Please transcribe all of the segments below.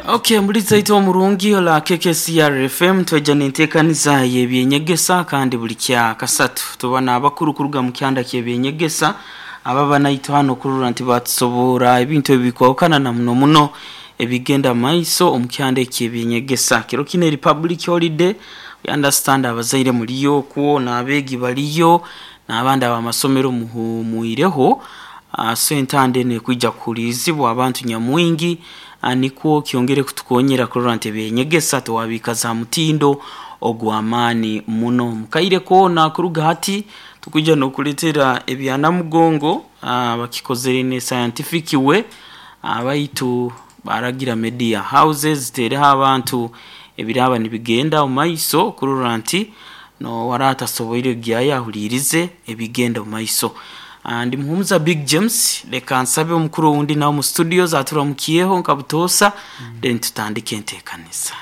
Okay, mbuliza itwe omurungi ola KKCR FM tweja nentekaniza y'ebyenyegesa kandi buli kya kasatu tuba n'abakuru kuruga mu kyanda ky'ebyenyegesa ababa naitwe hano kurora nti batusobora ebintu ebikwahukana na muno muno ebigenda maiso omu kyanda eky'ebyenyegesa. Kiro kino eri public holiday, we understand abazaire muliyo okwo n'abeegi baliyo n'abandi ab'amasomero muhumwireho. So entanda enu ekwija kuhulirizibwa abantu nyamwingi, nikwo kyongere kutukonyera kurora nti ebyenyegesa twabikaza ha mutindo ogw'amaani muno. Mukaire koona kuruga hati tukwija n'okuleetera ebya Namugongo, bakikozere in a scientific way, baitu baragira media houses ziteereho abantu ebiraaba nibigenda omu maiso kurora nti n'owaraaba atasoboire kugyayo ahuliirize ebigenda omu maiso. Ndi Muhumuza Big James, leka nsabe omukuru owundi nawe omu studios aturamukyeho nka butoosa, then tutandike enteekaniza.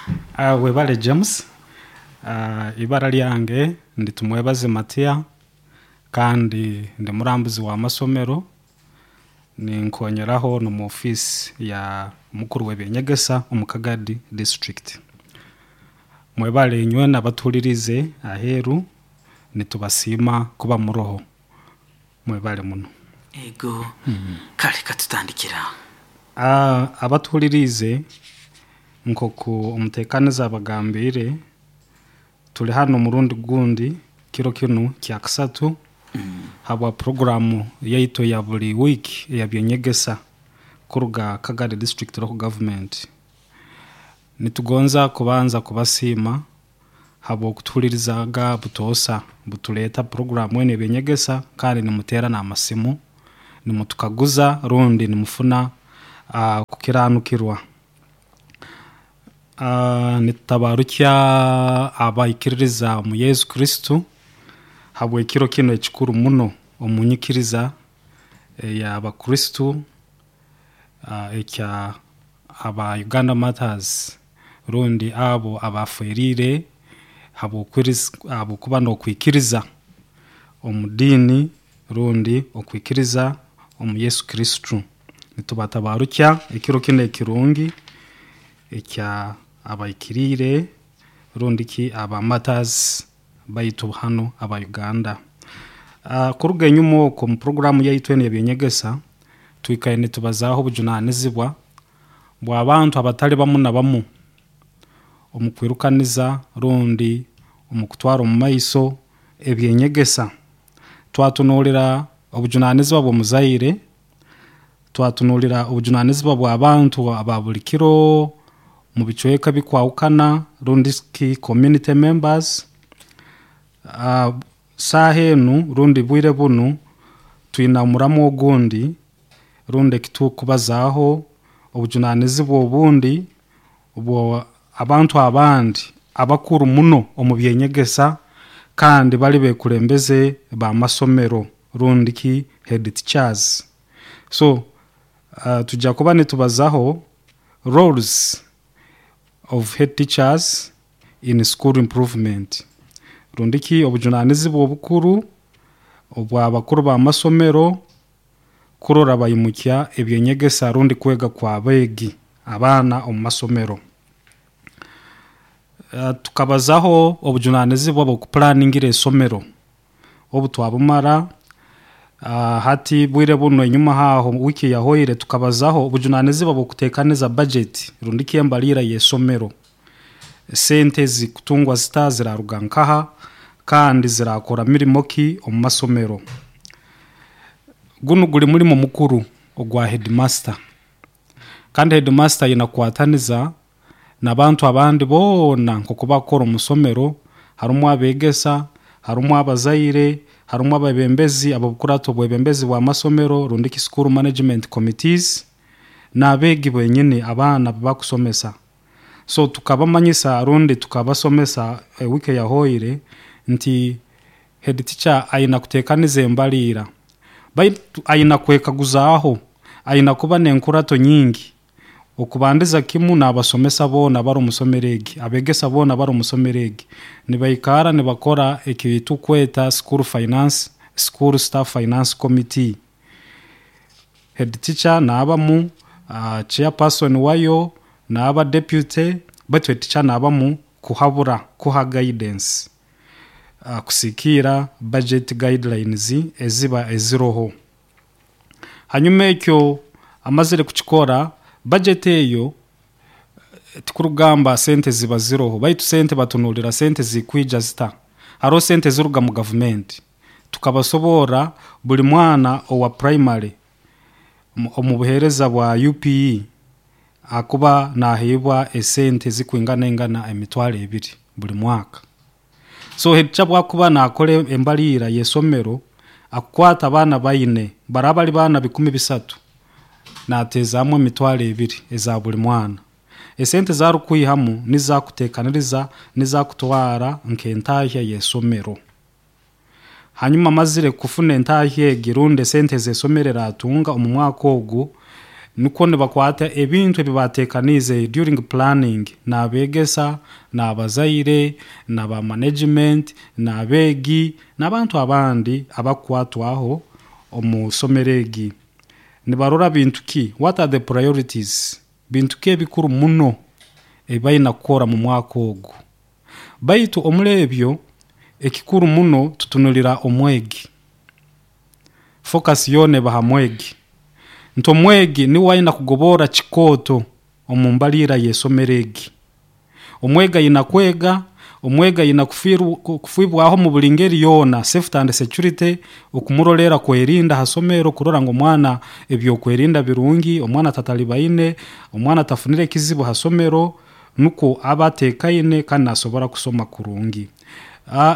Webale James. Ibara lyange ndi Tumwebaze Matia kandi ndi murambuzi w'amasomero, ninkonyeraho n'omu ofiisi ya mukuru w'ebyenyegesa omu Kagadi district. Mwebale inywena abatuhuliriize aheeru, nitubasiima kuba muroho. Mwebale muno. Ego, kale katutandikire aho. Abatuhuliriize nk'oku omuteekaniza abagambiire, tuli hanu omurundi gundi kiro kinu kyakasatu habwa puroguraamu yaitu eya buli wiiki eya byenyegesa kuruga Kagadi district local government. Nitugonza kubanza kubasiima habw'okutuhulirizaaga butoosa, butuleeta puroguraamu enu ey'ebyenyegesa kandi nimuteera n'amasimu nimutukaguza rundi nimufuna kukiranukirwa. Nitutabarukya abaikiririza omu Yesu Kristo habw'ekiro kinu ekikuru muno omu nyikiriza ey'abakristo ekya aba Uganda Martyrs rundi abo abaaferiire habw'okuba n'okwikiriza omu diini rundi okwikiriza omu Yesu Kristo. Nitubatabarukya ekiro kinu ekirungi ekya abaikiriire rundi ki aba Martyrs baitu hanu aba Uganda. Kuruga enyuma oku omu puroguraamu yaitu enu ey'ebyenyegesa, twikaire nitubazaaho obujunaanizibwa bw'abantu abatali bamu na bamu omu kwirukaniza rundi omu kutwara omu maiso ebyenyegesa. Twatunuulira obujunaanizibwa bw'omuzaire, twatunuulira obujunaanizibwa bw'abantu aba buli kiro omu bicweka ebikwahukana rundi ki community members. Saaha enu rundi bwire bunu twina omuramu ogundi rundi eki tukubazaaho obujunaanizibwa obundi obw'abantu abandi abakuru muno omu byenyegesa kandi bali bekulembeze b'amasomero rundi ki head teachers. So tujya kuba nitubazaho roles of head teachers in school improvement rundi ki obujunaanizibwa obukuru obw'abakuru b'amasomero kurora baimukya ebyenyegesa rundi kwega kw'abeegi abaana omu masomero. Tukabazaho obujunaanizibwa bw'okupulaningira isomero obu twabumara, hati bwire bunu enyuma aho wiiki eyahoire tukabazaho obujunaanizibwa bw'okuteekaniza budget rundi ki embalirra y'isomero. Sente zikutungwa zita, ziraruga nkaha kandi zirakora mirimo ki omu masomero. Gunu guli mulimo mukuru ogwa headmaster kandi headmaster aina kukwataniza n'abantu abandi boona nk'oku bakukora omu isomero, harumu abeegesa, harumu abazaire, harumu abeebembezi ab'obukurato obwebembezi bw'amasomero rundi ki school management committees n'abeegi benyini abaana abu bakusomesa. So tukabamanyisa rundi tukabasomesa wiiki eyahoire nti head teacher aina kuteekaniza embalirra baitu aina kwekaguzaaho, aina kuba n'enkurato nyingi. Okubandiza kimu n'abasomesa boona abari omu isomero egi, abeegesa boona abari omu isomero egi, nibaikara nibakora eki tukweta school finance, school staff finance committee. Head teacher naabamu, Chairperson wayo n'aba deputy, baitu head teacher naabamu kuhabura, kuha guidance kusikiira budget guidelines eziba eziroho. Hanyuma ekyo amazire kukikora, budget eyo tikurugamba sente ziba ziroho, baitu sente batunulira sente zikwija zita. Haroho sente ziruga mu gavumenti, tukabasoborra buli mwana owa primary omu buheereza bwa UPE akuba naheebwa esente zikwingana ingana 20,000 buli mwaka. So head teacher bwakuba nakora embaliira y'esomero, akukwata abaana baine baraba bali baana 300, nateezaamu 20,000 eza buli mwana. Esente zarukwihamu nizakuteekaniriza, nizakutwara nk'entahya y'esomero. Hanyuma amazire kufuna entahya egi rundi esente z'esomero eratunga omu mwaka ogu, nukwo nibakwata ebintu ebi bateekaniize during planning n'abeegesa, n'abazaire, n'aba management, n'abeegi, n'abantu abandi abakukwatwaho omu somero egi. Nibarora bintu ki? What are the priorities? Bintu ki ebikuru muno ebi baina kukora mu mwaka ogu? Baitu omuri ebyo ekikuru muno tutunulira omwegi. Focus yoona eba ha mwegi. Nti omwegi niwe aina kugobora kikooto omu mbaliira y'esomero egi. Omwegi aina kwega, omwegi aina kufiibwaho mu buli ngeri yoona, safety and security, okumurolera kwerinda ha somero, kurora ngu omwana ebyokwerinda birungi, omwana tatalibaine, omwana tafunire ekizibu ha somero, nukwo aba ateekaine kandi nasobora kusoma kurungi.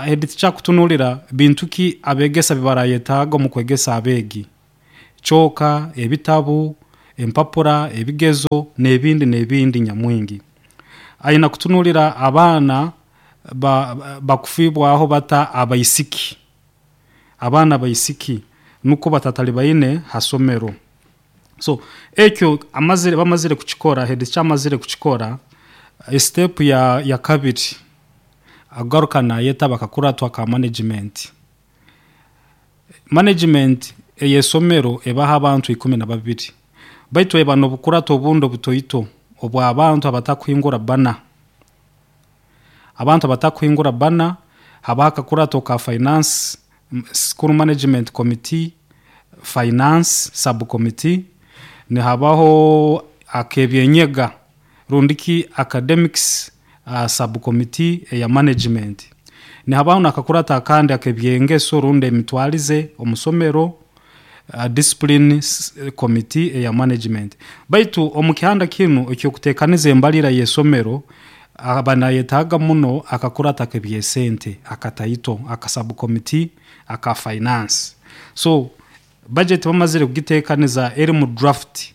Head teacher akutunulira bintu ki abeegesa bibarayetaaga omu kwegesa abeegi, kyoka, ebitabu, empapura, ebigezo n'ebindi n'ebindi nyamwingi. Aina kutunulira abaana bakufiibwaho bata abaisiki, abaana abaisiki nukwo batatalibaine ha somero. So ekyo bamazire kukikora, head teacher amazire kukikora, step ya kabiri agaruka nayeta bakakuratwa ka management. Management ey'esomero ebaho abantu 12, baitu eba n'obukurato obundi obutoito obw'abantu abatakuhingura bana. Abantu abatakuhingura bana, habaho akakurato ka finance, school management committee, finance subcommittee, nihabaho ak'ebyenyega rundiki academics subcommittee eya management. Nihabaho n'akakurato akandi ak'ebyengeso rundi emitwarize omu somero, discipline committee eya management. Baitu omu kihanda kinu eky'okuteekaniza embaliira y'esomero, aba nayetaaga muno akakurato ak'ebyesente akataito, aka subcommittee aka finance. So budget bamazire kugiteekaniza eri mu draft,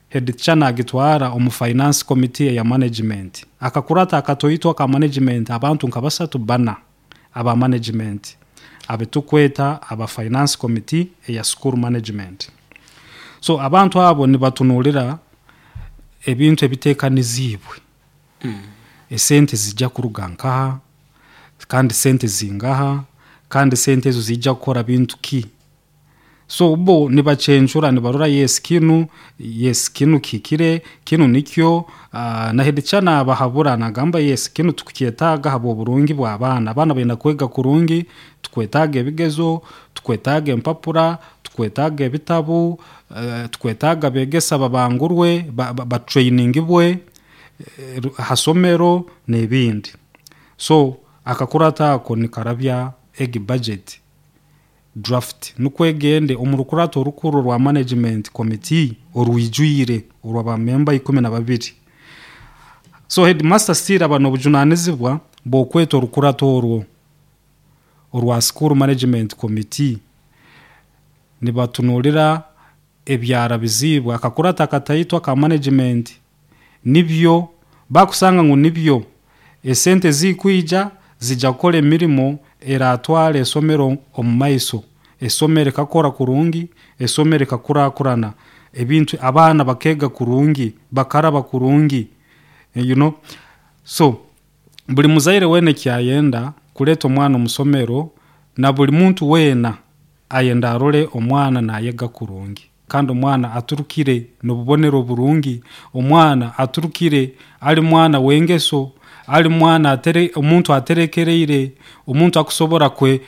head teacher nagitwara omu finance committee eya management. Akakurato akatoito aka management abantu nka 3 4 aba management abitukweta aba finance committee eya school management. So abantu abo nibatunulira ebintu ebiteekaniziibwe. Esente zijja kuruga nkaha, kandi sente zingaha, kandi sente ezo zijja kukora bintu ki? So bo nibacencura, nibarora yes kinu, yes kinu kihikire, kinu nikyo, na head teacher nabahabura nagamba yes kinu tukukyetaaga habw'oburungi bw'abaana. Abaana baina kwega kurungi, tukwetaaga ebigezo, tukwetaaga empapura, tukwetaaga ebitabu, tukwetaaga abeegesa babangurwe, batrainingibwe ha somero n'ebindi. So akakurato ako nikarabya egi budget draft nukwo egende omu rukurato orukuru rwa management committee orwijwire orw'abamemba 12. So headmaster still aba n'obujunanizibwa bw'okweta orukurato orwo orwa school management committee, nibatunulira ebyarabiziibwe akakurato akataito aka management, nibyo bakusanga ngu nibyo esente zikwija zijja kukora emirimo eratwara esomero omu maiso, esomero rikakora kurungi, esomero rikakurakurana, ebintu abaana bakeega kurungi, bakaraba kurungi, you know. So buli muzaire weena ekyayenda kuleeta omwana omu somero, na buli muntu weena ayenda arole omwana nayega kurungi. Kandi omwana aturukire n'obubonero burungi, omwana aturukire ali mwana w'engeso, ali mwana atere, omuntu aterekereire, omuntu akusobora kwe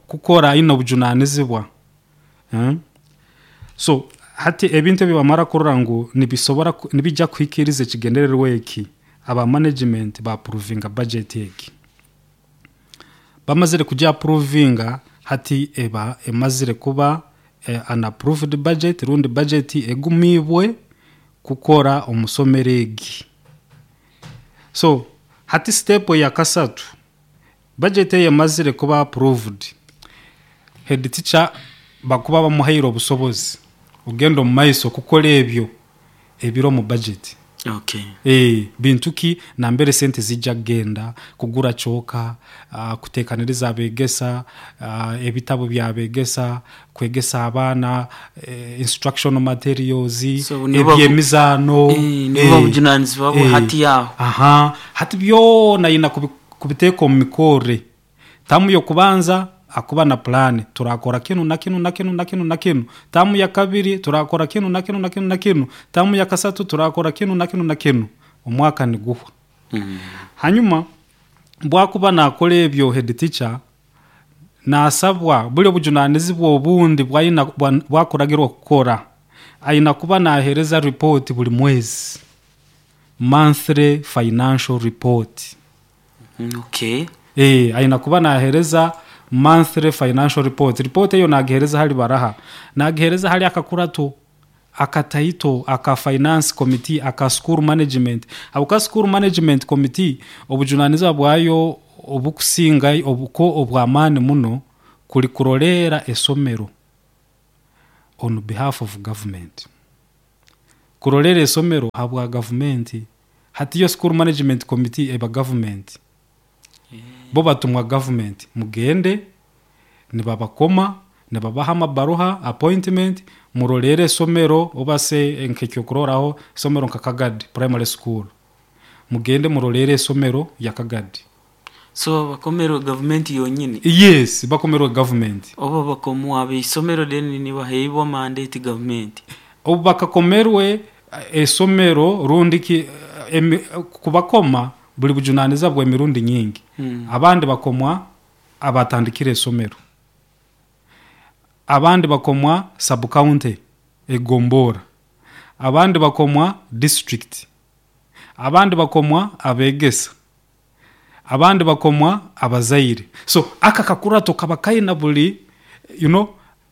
kukora aine obujunanizibwa. So hati ebintu ebi bamara kurora ngu nibisobora nibijja kuhikiriza ekigendererwa eki, aba management baapuruvinga budget egi. Bamazire kugiapuruvinga, hati eba emazire kuba an approved budget rundi budget egumiibwe kukora omu somero egi. So hati step eyakasatu, budget eyo emazire kuba approved, head teacher bakuba bamuhaire obusobozi ogenda omu maiso kukora ebyo ebiri omu budget. Bintu ki nambere sente zijja kugenda? Kugura kyooka, kuteekaniriza abeegesa, ebitabu by'abeegesa, kwegesa abaana, instructional materials, So nibo eby'emizaano. Nibo bujunanizibwa bwe hati aho. Aha, hati byona aina kubiteeka omu mikorre. Tamu y'okubanza akuba na pulaani, turakora kinu na kinu na kinu na kinu na kinu. Tamu ya kabiri turakora kinu na kinu na kinu na kinu. Tamu ya kasatu turakora kinu na kinu na kinu. Omwaka niguhwa. Hanyuma bwakuba nakora ebyo head teacher naasabwa buli obujunanizibwa obundi bwaina bwakuragirwa kukora, aina kuba naaheereza report buli mwezi, monthly financial report. Aina kuba naaheereza monthly financial report. Report eyo naagiheereza hali baraha? Naagiheereza hali akakurato akataito aka finance committee aka school management. Habwokuba school management committee obujunanizibwa bwayo obukusinga obuko obw'amaani muno kuli kuroleera esomero on behalf of government. Kuroleera esomero habwa gavumenti. Hati yo school management committee eba government. Bo batumwa government, mugende nibabakoma, nibabaha amabaruha appointment, muroleere esomero obase nk'ekyokurorraho isomero nka Kagadi Primary School. Mugende muroleere esomero ya Kagadi. So bakomerwe gavumenti yonyini? Yes, bakomerwe government. Oba bakomwa ab'isomero then nibaheibwa mandate gavumenti? Obu bakakomerwe esomero rundi ki kubakoma buli bujunanizibwa bw'emirundi nyingi. Abandi bakomwa abatandikire esomero, abandi bakomwa sub county egombora, abandi bakomwa district, abandi bakomwa abeegesa, abandi bakomwa abazaire. So aka kakurato kaba kaina buli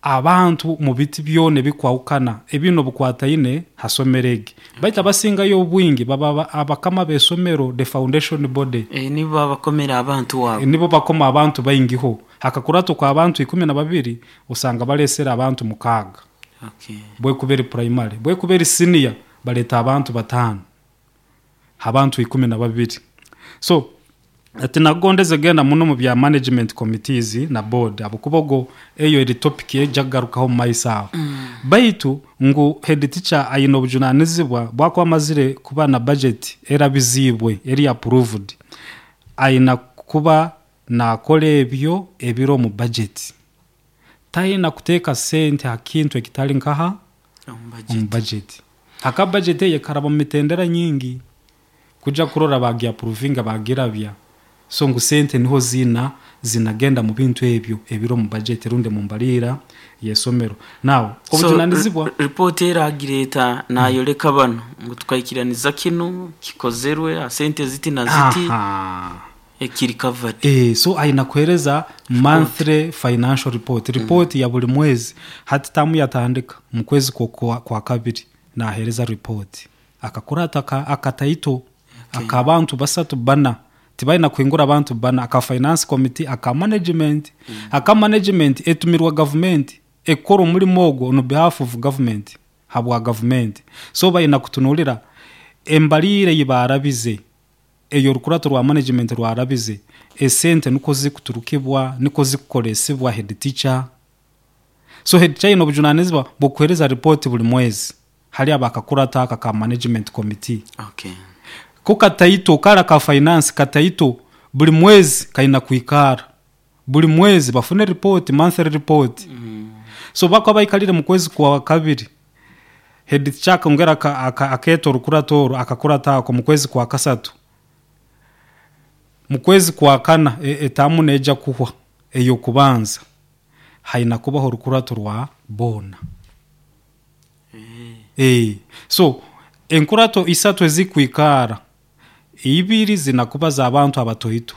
abantu mu biti byona ebikwahukana ebino bukwataine ha somero egi. Baitu abasingayo obwingi baba abakama b'esomero, the foundation body. Nibo babakomera abantu abo. Nibo bakoma abantu baingiho. Hakakurato kwa abantu 12 osanga balesera abantu 6. Bwekuberi primary, bwekuberi senior baleta abantu 5. Abantu 12. So ati nagondeze genda muno mu bya management committees na board, abukubogo eyo eri topic ejagarukaho mu maiso aho. Baitu ngu head teacher ayina obujunanizibwa bwakuba amazire kuba na budget erabizibwe eri approved, ayina kuba nakora ebyo ebiri omu budget. Tayina kuteeka sente ha kintu ekitali nkaha omu budget. Haka budget eye karaba mu mitendera nyingi kuja kurora bagiapprovinga bagirabya. So ngu sente niho zinagenda mu bintu ebyo ebiri omu budget rundi mu mbalira y'esomero. Now obujunanizibwa report eragireta nayoleka bano ngu tukaikiraniza kinu kikozerwe sente ziti na ziti. Ekiri covered. So ayina kuhereza monthly financial report, report ya buli mwezi. Hati tamu yatandika mu kwezi kwa kabiri nahereza report. Akakurata akataito akabantu 3 4 tibaina kuhingura abantu 4, aka finance committee, aka management. Aka management etumirwa government ekora omulimo ogwo on behalf of government, habwa government. So baina kutunulira embalire yibarabize eyo rukurato rwa management rwarabize esente niko zikuturukibwa niko zikukoresibwa head teacher. So head teacher obujunanizibwa bwokuhereza report buli mwezi hali abakakurata aka ka management committee. Ko kataito kara ka finance kataito buli mwezi kaina kuikara buli mwezi bafune report, monthly report. So bakwa baikalire mu kwezi kwa kabiri Head teacher akongera akeeta orukurato oru, akakurata ako mu kwezi kwa kasatu. Mu kwezi kwa kana, etaamu neija kuhwa ey'okubanza, haina kubaho orukurato rwa boona. So enkurato isatu ezikwikara, ibiri zina kuba z'abantu abatoito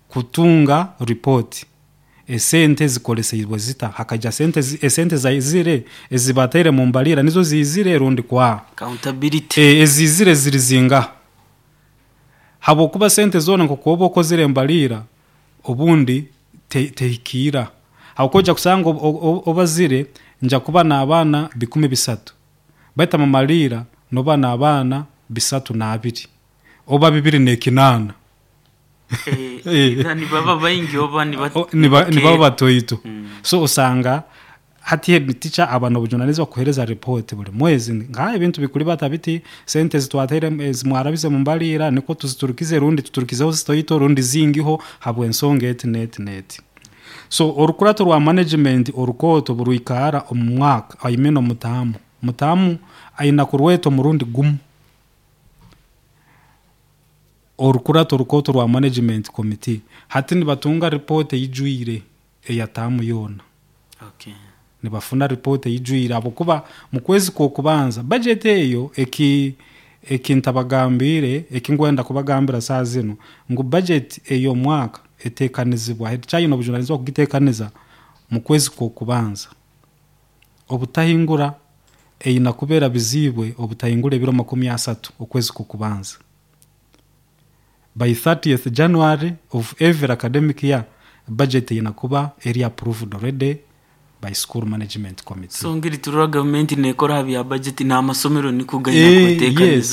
kutunga report, esente zikoleseibwe zita, hakaija sente esente zaizire ezibataire mu mbalira nizo ziizire rundi kwa Accountability. Eziizire ziri zingaha, habwokuba sente zoona nkoku oba okozire embalira obundi tehikiira, habwokuba ojja kusanga obazire nja kuba n'abaana 300, baitu amamaliira noba n'abaana 320 oba 208. Either nibaba baingi oba nibaba batoito. So osanga hati head teacher aba n'obujunanizibwa kuheereza report buli mwezi, nka ebintu bikuribata biti, sente ezitwataire ezimwarabize mu mbaliira nikwo tuziturukize rundi tuturukizeho zitoito rundi zingiho habw'ensonga eti n'eti n'eti. So orukurato rwa management orukooto burwikara omu mwaka, I mean omutaamu, mutaamu aina kurweta omurundi gumu. Orukurato orukooto rwa management committee, hati nibatunga report eijwire eya taamu yoona. Nibafuna report eijwire habwokuba mu kwezi kw'okubanza budget eyo, eki ntabagambiire, eki nkwenda kubagambira saaha zinu, ngu budget ey'omwaka eteekanizibwa, head teacher aine obujunanizibwa kugiteekaniza mu kwezi kw'okubanza. Obutahingura eine kuba erabiziibwe obutahingura ebiro 30 okwezi kw'okubanza. By 30th January of every academic year, budget eine kuba eri approved already by school management committee. So ngeri turora gavumenti nekora ha bya budget, n'amasomero niko gaina kwetekaniza.